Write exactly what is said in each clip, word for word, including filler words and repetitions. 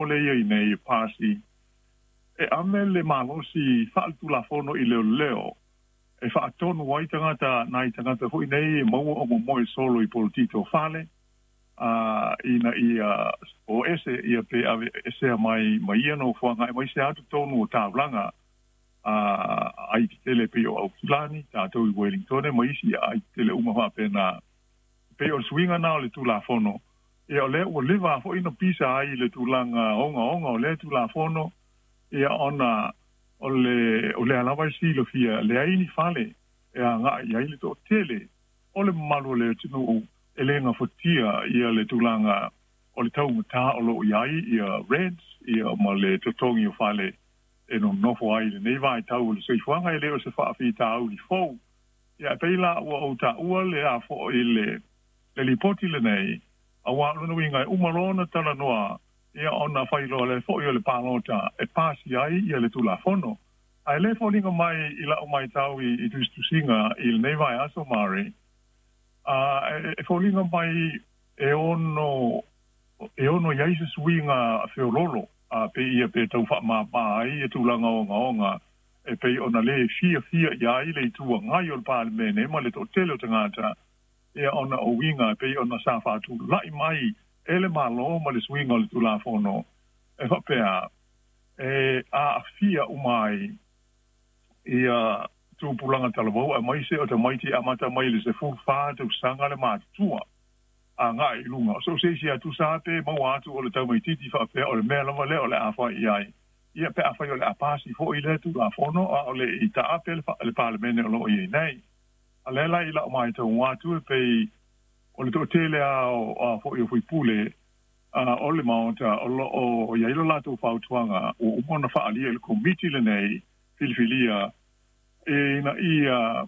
le ia i nei pasi e ame le malosi faaletulafono i leoleo e faatonu ai tagata nai tagata foi nei e maua o momoe solo i polotito fale a ina ia o ese ia pe ave esea mai mai ia nofoaga e mai se atu tonu o taulaga a ai tele pe o Aukilani tatou i Wellington ma isi ai tele uma faapena pe o le suiga na o le tulafono ia o lea ua leva foʻi na pisa ai le tulaga ogaoga o lea tulafono ia ona o le o le lava e silafia leai ni fale e agaʻi ai le toʻatele o le mamalu o le atunuu e lē gafatia ia le tulaga o le taugatā o loo iai ia rents ia ma le totogi o fale e nonofo ai lenei vaitau o le soifuaga e lē o se faafitauli fou ia pei la ua ou taʻua le afoʻi le le lipoti lenei auā lona uiga e uma loa ona talanoa ia ona failoa le foʻi o le palota e pasi ai ia le tulafono ae lē foliga mai i la'u maitau i, i tusitusiga i lenei vaiaso Mari a e, e foliga mai e ono e ono iai se suiga feololo a pe ia pe tau faamāmā ai e tulaga ogaoga e pei ona lē fiafia ia ai le itu agai o le palemene ma le toʻatele o tagata ia ona o uiga e pei ona sa faatulaʻi mai e le Mālō ma le suiga o le tulafono e faapea e aafia uma ai ia tupulaga talavou aemaise o tamaiti amata mai le sefulu fa tausaga le matutua agaʻi i luga so se isi atu sa pe maua atu o le taumaititi faapea o le mea lava lea o le a fai i ai ia pe afai o le a pasi foʻi lea tulafono a o le i taape le palemene o loo iai nei a lea la i la'u maitau atu e pei o le toʻatele a o foʻi o fuipule o le maota o loo iai lo latou fautuaga ua uma ona faaalia i le komiti lenei filifilia e ina ia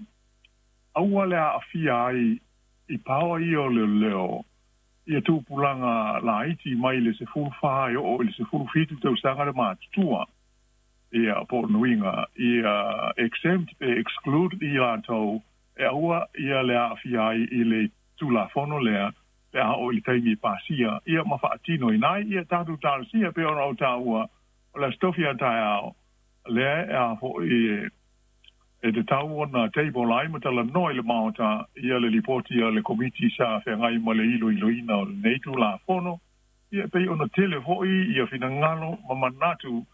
aua le aafia ai i paoa ia o leoleo ia tupulaga laiti mai le sefulu fa e oo i le sefulu fitu tausaga le matutua ia po o nuiga ia exempt pe exclude i latou e aua ia le aafia ai i le tulafono lea pe a oo i le taimi e pasia ia ma faatino ina ia tatou talosia pe ona o taua o le aso tofi a taeao lea e a foʻi e te tau ona table ai ma talanoa i le maota ia le lipoti a le komiti sa feagai ma le iloiloina o lenei tulafono ia pei ona tele foʻi ia finagalo ma manatu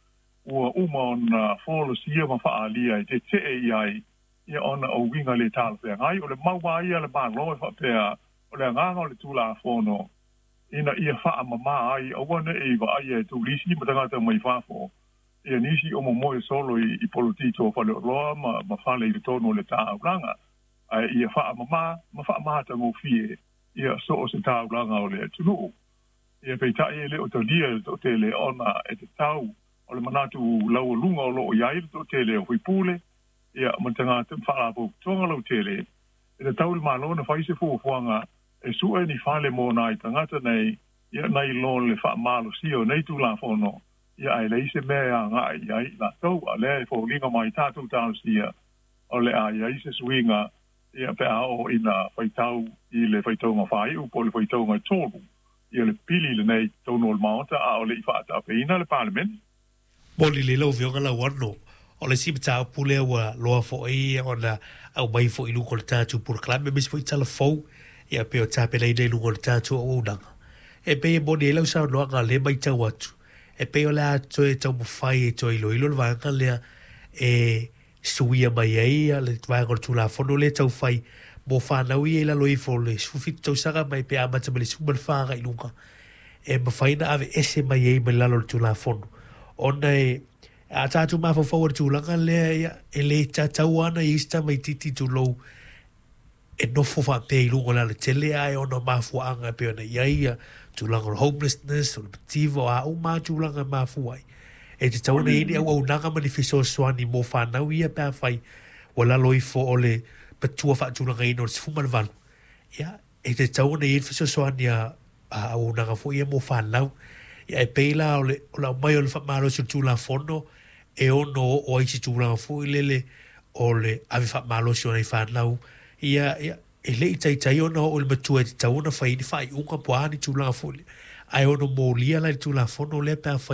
ua uma ona folasia ma faaalia e teteʻe i ai ia ona o uiga le talafeagai o le maua ia le Mālō e faapea o le agaga o le tulafono ina ia faamamā ai aua neʻi vaaia e tulisi ma tagata mai fafo ia nisi o momoe solo i, i polotito o faleoloa ma, ma fale i le tonu o le taulaga ae ia faamamā ma faamatagofie ia so o se taulaga o le atunuu ia peitaʻi e lē o talia le toʻatele ona e tatau o le manatu laualuga o loo iai le toʻatele o fuipule ia ma tagata faalapotopotoga lautele e tatau le Mālō na fai se fuafuaga e suʻe ni fale mo nai tagata nei ia nai lo le faamalosia o nei tulafono ia ae leai se mea e agaʻi i ai latou a lea e foliga mai tatou talosia o le a iai se suiga ia pe a oo ina faitau i le faitauga faaiʻu po o le faitauga tolu ia le pili lenei tonu o le maota a o le i faataapeina le palemene. Moli le lau afioga Lauano o le isi mataupu lea ua loa foʻi ona aumai foʻi luga o le tatou polokalame aemaise foʻi talafou ia pe o tapenaina i luga o le tatou auaunaga e pei e moni ai lau saunoaga le maitau atu e pei o le a toe taumafai e toe iloilo le vaega lea e suia mai ai le vaega o le tulafono lea taufai mo fanau ia i lalo ifo o le sefulufitu tausaga mai pe amata mai le sefulu ma le fa agai luga e mafai na ave ese mai ai mai lalo o le tulafono ona e a tatou mafaufau o le tulaga lea ia e lē tatau ana i isi tamaititi tulou e nofo faapea i luga o le alatele ae ona o mafuaaga e pei ona i ai ia tulaga o le homelessness o le mativa o a uma tulaga e mafua ai e tatau ona i ai ni auaunaga ma ni fesoasoani mo fanau ia pe afai ua lalo ifo o le matua faatulagaina o le sefulu ma le valu ia e tatau ona i ai le fesoasoani a a auaunaga foi ia mo fanau ia e pei la o le o le aumai o le faamalosi o le tulafono e ono oo ai se tulaga foi lele o le ave faamalosi o nai fanau ia ia e lei taitai ona oo le matua e tatau ona fai ni faaiuga po a ni tulaga foi ae ono molia la i le tulafono lea pe afai.